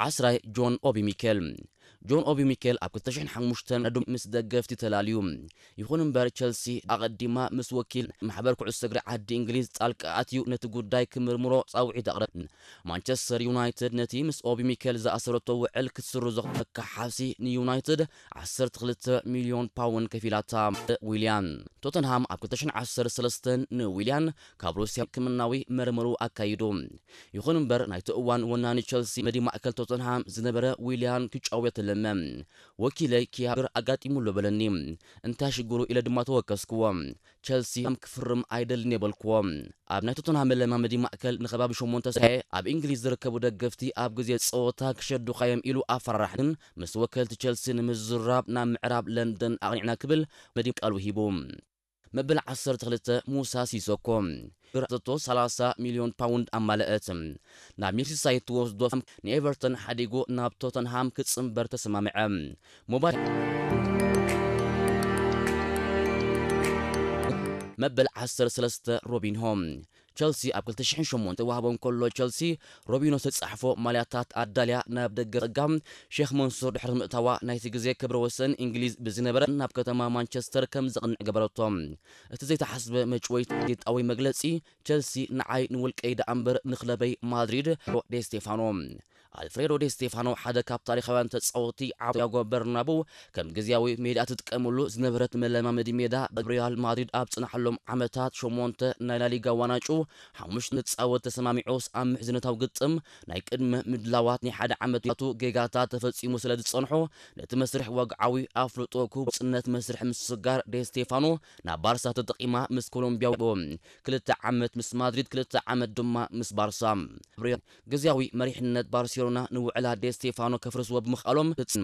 ዓስራይ ጆን ኦቢ ሚኬል። ጆን ኦቢ ሚኬል ኣብ ክልተ ሽሕን ሓሙሽተን ዶ ምስ ደገፍቲ ተላልዩ። ይኹን እምበር፣ ቸልሲ ኣቐዲማ ምስ ወኪል ማሕበር ኩዕሶ እግሪ ዓዲ እንግሊዝ ጣልቃ ኣትዩ ነቲ ጉዳይ ክምርምሮ ጻውዒት ኣቕረብ። ማንቸስተር ዩናይትድ ነቲ ምስ ኦቢ ሚኬል ዝኣሰረቶ ውዕል ክትስርዞ ተካሓሲ ንዩናይትድ ዓሰርተ ክልተ ሚልዮን ፓውንድ ከፊላታ። ዊልያን። ቶተንሃም ኣብ ክልተ ሽሕን ዓሰርተ ሰለስተን ንዊልያን ካብ ሩስያ ሕክምናዊ መርመሩ ኣካይዱ። ይኹን እምበር፣ ናይቲ እዋን ወናኒ ቸልሲ መዲ ማእከል ቶተንሃም ዝነበረ ዊልያን ክጫወት ለመ። "ወኪለይ ኪያብር ኣጋጢሙሎ በለኒ። እንታይ ሽግሩ?" ኢለ ድማ ተወከስክዎ። ቸልሲ ከም ክፍርም ኣይደልን የበልክዎ። ኣብ ናይ ቶተንሃም መለማመዲ ማእከል ንኸባቢ ሸሞንተ ሰዓት ኣብ እንግሊዝ ዝርከቡ ደገፍቲ ኣብ ግዜ ጸወታ ክሸዱኻ እዮም ኢሉ ኣፈራራሕ። ግን ምስ ወከልቲ ቸልሲ ንምዝራብ ናብ ምዕራብ ለንደን ኣቕኒዕና ክብል መዲ ቃሉ ሂቡ። መበል ዓሰርተ ክልተ ሙሳ ሲሶኮ። ብር ኣተቶ ሰላሳ ሚልዮን ፓውንድ ኣማለአት። ናብ ሜርሲሳይድ ትወስዶ ንኤቨርተን ሓዲጉ ናብ ቶተንሃም ክጽንበር ተሰማምዐ። ሞባይል መበል ዓሰርተ ሰለስተ ሮቢንሆ። ቸልሲ ኣብ ክልተ ሽሕን ሸሞንተ ዋህቦ እንከሎ፣ ቸልሲ ሮቢኖ ዝተጻሕፎ ማልያታት ኣዳልያ ናብ ደገ ጸጋም ሼክ መንሱር ድሕሪ ምእታዋ፣ ናይቲ ግዜ ክብረ ወሰን እንግሊዝ ብዝነበረ ናብ ከተማ ማንቸስተር ከም ዘቕንዕ ገበረቶ። እቲ ዘይተሓስበ መጭወይታዊ መግለጺ ቸልሲ ንዓይ ንውልቀይ ደኣ እምበር ንክለበይ ማድሪድ። ዴስቴፋኖ። ኣልፍሬዶ ዴስቴፋኖ ሓደ ካብ ታሪኻውያን ተጻወትቲ ዓብ ያጎ በርናቡ ከም ግዝያዊ ሜዳ ትጥቀመሉ ዝነበረት መለማመዲ ሜዳ፣ ኣብ ሪያል ማድሪድ ኣብ ጽናሓሎም ዓመታት ሸሞንተ ናይ ላሊጋ ዋንጫ ሓሙሽተ ንጻወት ተሰማሚዑስ፣ ኣብ ምሕዝነታዊ ግጥም ናይ ቅድመ ምድላዋት ናይ ሓደ ዓመት ያቱ ጌጋታት ተፈጺሙ ስለ ዝጸንሖ፣ ነቲ መስርሕ ወግዓዊ ኣፍልጦ ክህቡ ጽነት መስርሕ ምስጋር ዴስቴፋኖ ናብ ባርሳ ተጠቒማ ምስ ኮሎምቢያ ክልተ ዓመት፣ ምስ ማድሪድ ክልተ ዓመት ድማ ምስ ባርሳ። ግዝያዊ መሪሕነት ባርሴሎና ንውዕላ ዴስቴፋኖ ከፍርስዎ ብምኽኣሎም